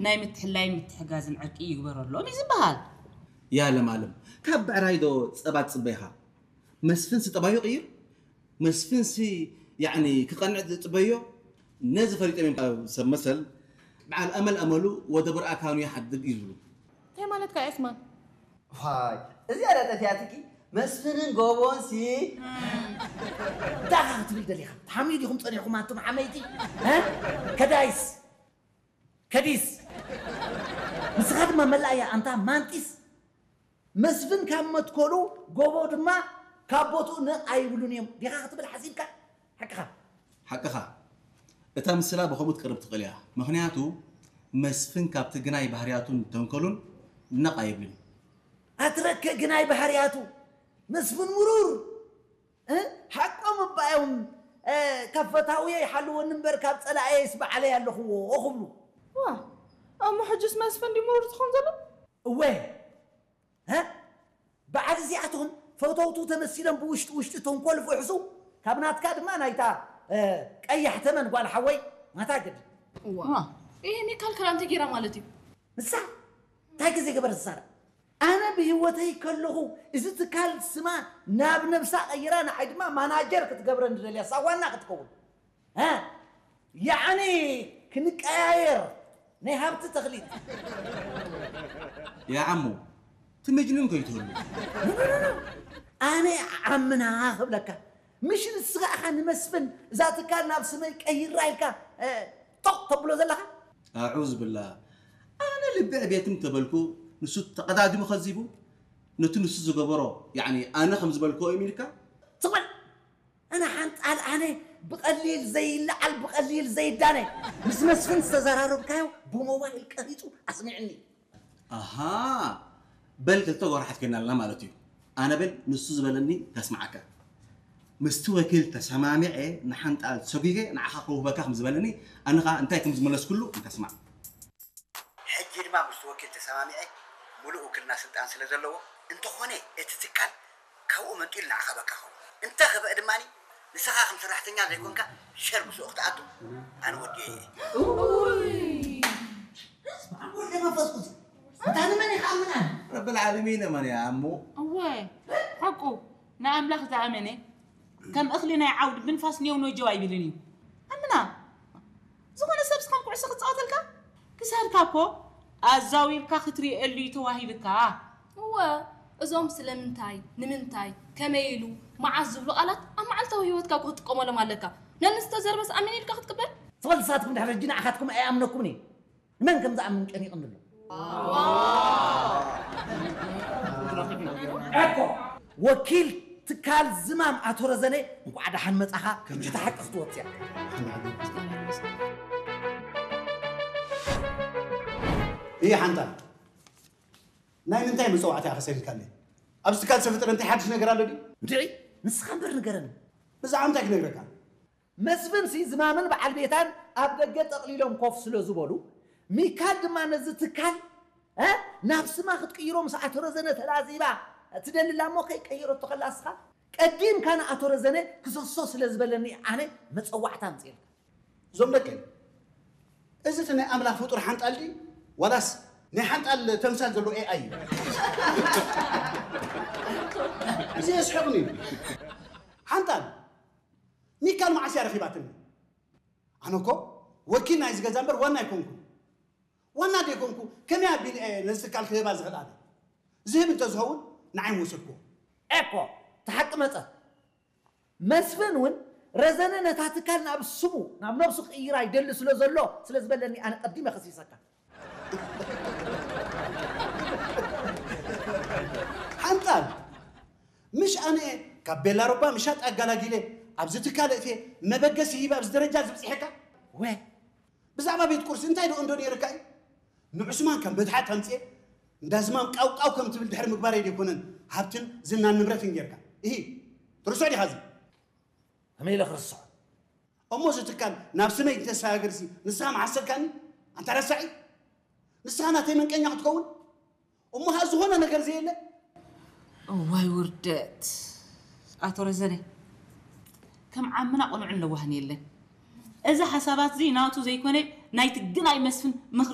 ናይ ምትሕልላይን ምትሕጋዝን ዕርቂ ይግበረሎም እዩ ዝበሃል። ያ ለማለም፣ ካብ ብዕራይ ዶ ጸባ ትጽበይኻ? መስፍንሲ ጠባዩ ይቕይር? መስፍንሲ ያዕኒ ክቐንዕ ትጽበዮ? ነዚ ፈሊጦም እዮም ካብ ሰብ መሰል በዓል ኣመል ኣመሉ ወደ ብርኣ ካኑ ይሓድግ እዩ ዝብሉ። እንታይ ማለትካ ዑስማን? ዋይ፣ እዚኣ ዳ ጠፊኣትኪ። መስፍንን ጎቦንሲ እንታይ ኢኻ ክትብል ደሊኻ? ተሓምዩ ዲኹም ጸኒሕኩም ኣንቱም ሓመይቲ? እ? ከዳይስ ከዲስ ንስኻ ድማ መላእያ ኣንታ ማንጢስ። መስፍን ካብ መትከሉ ጎቦ ድማ ካብ ቦትኡ ነቕ ኣይብሉን እዮም ዲኻ ክትብል ሓሲብካ? ሓቅኻ። ሓቅኻ። እታ ምስላ ብኸምኡ ትቀርብ ትኽእል እያ። ምኽንያቱ መስፍን ካብቲ ግናይ ባህርያቱን ተንኮሉን ነቕ ኣይብልን። ኣትረከ ግናይ ባህርያቱ መስፍን ምሩር እ? ሓቆም እባ እዮም እ፣ ካብ ፈታውየ ይሓልወኒ እምበር ካብ ጸላእየስ ባዕለይ ኣለኽዎ ክብሉ። ዋ እሞ ሕጅስ መስፍን ድዩ ምሩር ዝኸውን ዘሎ? እወ እ? በዓል እዚኣቶም ፈተውቱ ተመሲሎም ብውሽጢ ውሽጢ ተንኮል ፍሕሱ ካብ ናትካ ድማ ናይታ እ፣ ቀያሕ ተመን ጓል ሓወይ ናታ ግድ ዋ ይሄ ሚካል ከላ እንታይ ጌራ ማለት እዩ? ንሳ እንታይ ግዜ ገበር ዝሳራ ኣነ ብህይወተይ ከለኹ እዚ ትካል ስማ ናብ ነብሳ ቀይራ ንዓይ ድማ ማናጀር ክትገብረኒ ደልያ እሳ ዋና ክትከውን እ ያዕኒ ክንቀያየር ናይ ሃብቲ ተኽሊት ያ ዓሞ ትምጅንን ከይትህሉ ኣነ ዓምና ክብለካ ምሽ ንስኻ ኢኻ ንመስፍን እዛ ትካል ናብ ስመይ ቀይራ ኢልካ እ፣ ጦቕ ተብሎ ዘለኻ ኣዑዝ ብላ ኣነ ልቢ ዕቤትም ተበልኩ ንሱ ተቐዳዲሙ ከዚቡ ነቲ ንሱ ዝገበሮ ያዕኒ ኣነ ከም ዝበልክዎ እዩ ኢልካ ትቕበል ኣነ ሓንጣል ኣነ ብቐሊል ዘይለዓል ብቐሊል ዘይዳነ ምስ መስፍን ዝተዘራረብካዮ ብሞባይል ቀሪጹ ኣስሚዕኒ ኣሃ በል ክልተ ጎራሓት ኮይና ኣለና ማለት እዩ ኣነ በል ንሱ ዝበለኒ ከስምዓካ ምስቲ ወኪል ተሰማሚዐ ንሓንጣል ሰጒገ ንዓኻ ከውህበካ ከም ዝበለኒ ኣነ ኸዓ እንታይ ከም ዝመለስኩሉ እንተስማዕ ሕጂ ድማ ምስቲ ወኪል ተሰማሚዐ ሙሉእ ውክልና ስልጣን ስለ ዘለዎ እንተኾነ እቲ ትካል ካብኡ መንጢሉ ንዓኻ በቃ ኸውን እንተ ኽበእ ድማ ንስኻ ከም ሰራሕተኛ ዘይኮንካ ሸር ምስኡ ክትኣቱ ኣነ ወዲኤ እየ ስመዓም ወልደ መንፈስ ቅዱስ እንታ ንመን ይኽኣምን ኣነ ረብል ዓለሚን እመን እያ እሞ እወ ሓቁ ንኣምላኽ ዝኣመነ ከም እኽሊ ናይ ዓውዲ ብንፋስ ኔው ኖጀው ኣይብልን እዩ ኣምና ዝኾነ ሰብ ስኻም ኩዕሶ ክፃወተልካ ክሳድካ እኮ ኣዛዊርካ ክትሪኤሉ እዩ ተዋሂብካ እወ እዞም ስለምንታይ፣ ንምንታይ፣ ከመይ ኢሉ፣ መዓስ ዝብሉ ቃላት ኣብ መዓልታዊ ህይወትካ እኮ ክትጥቀመሎም ኣለካ። ነንዝተዘርበስ ኣሜን ኢልካ ክትቅበል? ትፈልጡ ንሳትኩም ድሕሪ ሕጂ ንዓኻትኩም ኣይኣምነኩምን እየ። ንመን ከም ዝኣምን ጨኒቕኒ ኣሎ። እኮ ወኪል ትካል ዝማም ኣቶ ረዘነ እንኳዕ ደሓን መጻኻ። ሕጂ እታ ሓቂ ክትወጽእ እያ። እየ ሓንታ ናይ ምንታይ መጸዋዕታ ኢኻ ሰዲድካለይ? ኣብዚ ትካል ዝተፈጠረ እንታይ ሓድሽ ነገር ኣሎ ድዩ? እንድዒ ንስኻ እምበር ንገረኒ። ብዛዕባ እንታይ ክነግረካ? መስፍንሲ ዝማምን በዓል ቤታን ኣብ ደገ ጠቕሊሎም ኮፍ ስለ ዝበሉ፣ ሚካል ድማ ነዚ ትካል እ ናብ ስማ ክትቅይሮ ምስ ኣቶ ረዘነ ተላዚባ ትደሊ እላ እሞ ከይቀየረቶ ከላ እስኻ ቀዲምካ ንኣቶ ረዘነ ክሰሶ ስለ ዝበለኒ ኣነ መጸዋዕታ ኣምጽኤልካ። እዞም ደቀይ እዚ እቲ ናይ ኣምላኽ ፍጡር ሓንጣል ድዩ ዋላስ ናይ ሓንጣል ተምሳል ዘለዎ ኤኣይ እዩ? እዚ የስሕቕኒ እዩ። ሓንጣል ሚካል መዓስ እያ ረኺባትኒ? ኣነ እኮ ወኪል ናይዚ ገዛ እምበር ዋና ኣይኮንኩን። ዋና ደይኮንኩ ከመይ ኣቢለ እየ ነዚ ትካል ክህባ ዝኽእል ኣነ? ዝህብ እንተዝኸውን ንዓይ ምወሰድክዎ። ኤኮ እቲ ሓቂ መጸ። መስፍን እውን ረዘነ ነታ ትካል ናብ ስሙ ናብ ነብሱ ክቕይራ ይደሊ ስለ ዘሎ ስለ ዝበለኒ ኣነ ቀዲመ ከሲሰካ። ሓንጣል ምሽ ኣነ ካብ ቤላ ሮባ ምሻጥ ኣጋላጊለ ኣብዚ ትካል እትየ መበገሲ ሂብ ኣብዚ ደረጃ ዝብፅሐካ ወ ብዛዕባ ቤት ቁርሲ እንታይ ደኦ እንዶ ነይርካ እዩ ንዑስማን ከም በትሓት ኣምፅኤ እንዳዝማም ቃውቃው ከም ትብል ድሕሪ ምግባረይ ደይኮነን ሃብትን ዝናን ንብረትን ጌርካ እሂ ትርሶ ዲኻ እዚ ከመይ ኢለ ክርስዖ እሞ እዚ ትካል ናብ ስመይ እንተሰጋግርሲ ንስኻ መሓሰብካኒ ኣንታ ረሳዒ ንስኻ ናተይ መንቀኛ ክትከውን እሞ ኸኣ ዝኾነ ነገር ዘየለ እዋይ ውርደት ኣቶ ረዘነ ከም ዓምና ቁኑዕን ለዋህን የለን እዚ ሓሳባት እዚ ናቱ ዘይኮነ ናይቲ ግናይ መስፍን